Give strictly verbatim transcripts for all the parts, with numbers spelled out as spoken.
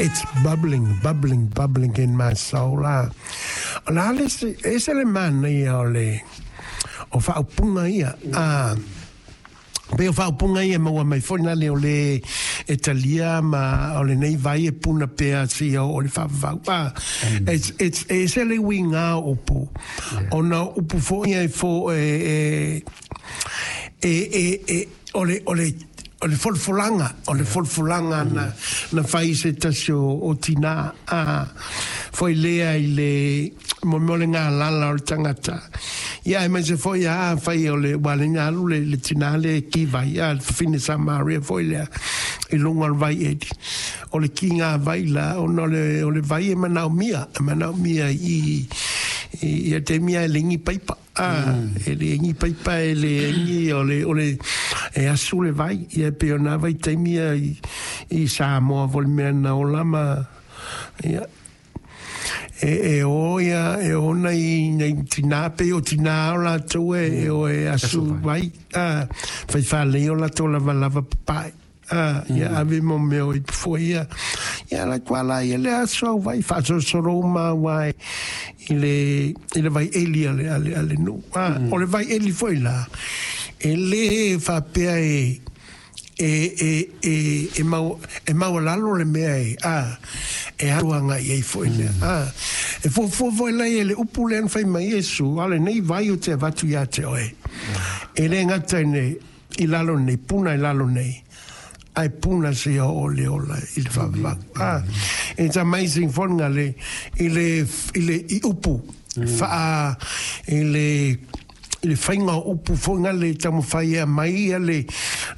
It's bubbling, bubbling, bubbling in my soul. Ah. O le a le isi, e ese le manaia o le, o faaupuga ia. Ah, pei o faaupuga ia e maua mai foi na le o le e talia ma o lenei vai e puna pea seia oo i le faavavau. Ah, it's, it's, e ese le uiga o upu. Ona o upu foi ia e fo, e, e, e, e, e, o le, o le, o le folafolaga, o le folafolaga na, na fai i se tasi o, o tinā, a, foi lea i le, mo mea o le galala o le tagata. Ia, aemaise foi a fai o le, ua ala ai ona alu le, le tinā lea e ki vai, a, le fafine Samaria foi lea, i luga o le vai eli. O le kiga vai la, ona o le, o le vai e manaomia, e manaomia i, i, i a taimi lava e leai ni paipa. A, e leai ni paipa, e leai ni, o le, o le, e asu le vai. Ia, e pei o na vaitaimi ia i, i Samoa foi le mea na ola ma, ia, e, e o ia, e o nai, nai tinā, pei o tinā o latou e, e o e asu vai, a, fai faalelei o latou lavalava papae. A, ia ave mo mea o ipu foi ia. Ia la tua la ia le aso au vai faasolosolo uma aua e i le i le vai eli a le a le a le nuu. A, o le vai eli foi la, e le faapea e e e e e mau e maualalo le mea e a e alu agai ai foi lea. A, e fuafua foi la ia le upu lea na fai mai Iesu, a lenei vai ou te avatu ia te oe. E le gata i le i lalo nei, puna i lalo nei, ae puna seia oo le ola i le faavavau. Ah, it's amazing foi le, i le, i le, i upu, faa, i le, i le faiga o upu foi le taumafai e aumai ia le,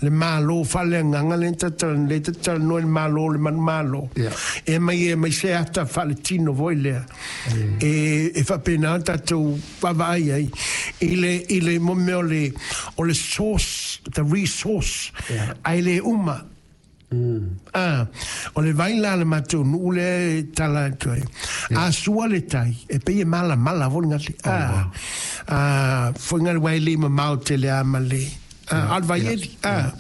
le Malo faaleagaga lea na lea ta talanoa i le Malo le manumalo. Yeah. E aumai e aumai se ata faaletino foi lea. E, e faapena ona tatou vaavaai ai i le, i le mo mea o le, o le source, the resource, Yeah. ae le uma. Ah, o le vai la a le matou nuu lea e tala atu ai. A sua le tai, e pei e malamala foi le gale. Ah, ah, foi gale aua e le mamao tele lava ma le, ah, a o le vai eli. Ah,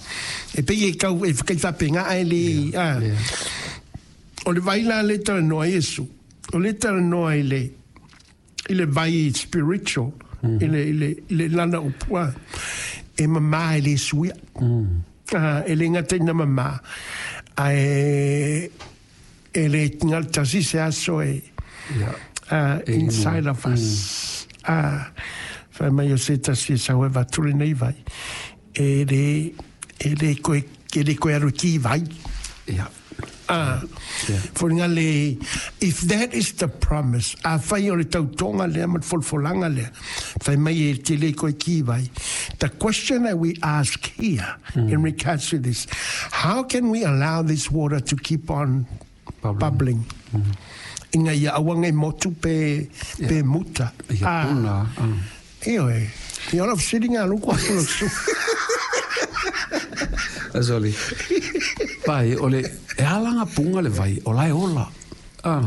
e pei e kau, e kai faapena ae le, ah. O le vai la lea e talanoa ai Iesu, o lea e talanoa i le, i le vai spiritual, i le, i le, i le lana upu, ah, e mama e le suia. Ah, e le gata ina mama, ae e le gatasi se aso e Yeah. uh, inside of us. Ah, fai mai o se tasi e sau e avatu lenei vai. E le, e le koe, e le koe alu ki vai. Yeah. Ah, Yeah. foliga le, if that is the promise, afai o le tautoga lea ma le folafolaga lea, fai mai e te le koe ki vai. The question that we ask here in regards to this, how can we allow this water to keep on Bubbling. bubbling? Ina ia aua nei motu pe, pe muta. Ia Ah, puna. Ah. ioe. Ia o lau fesiliga a luku atu lau su. Sorry. Vai, o le, e ala nga punga le vai, o la e ola. Ah.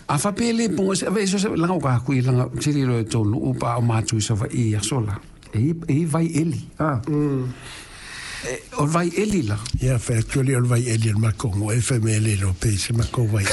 A faapea e le punga, se, ave, so se, langa o ka kui, langa, tiri lo e tonu, upa o mātu i sawa i asola. E, i- e i vai eli. Ah. E, o vai eli la. Ia, fai atu le o le vai eli a le makou nuu, e fai mai e le iloa pe i se makou vai.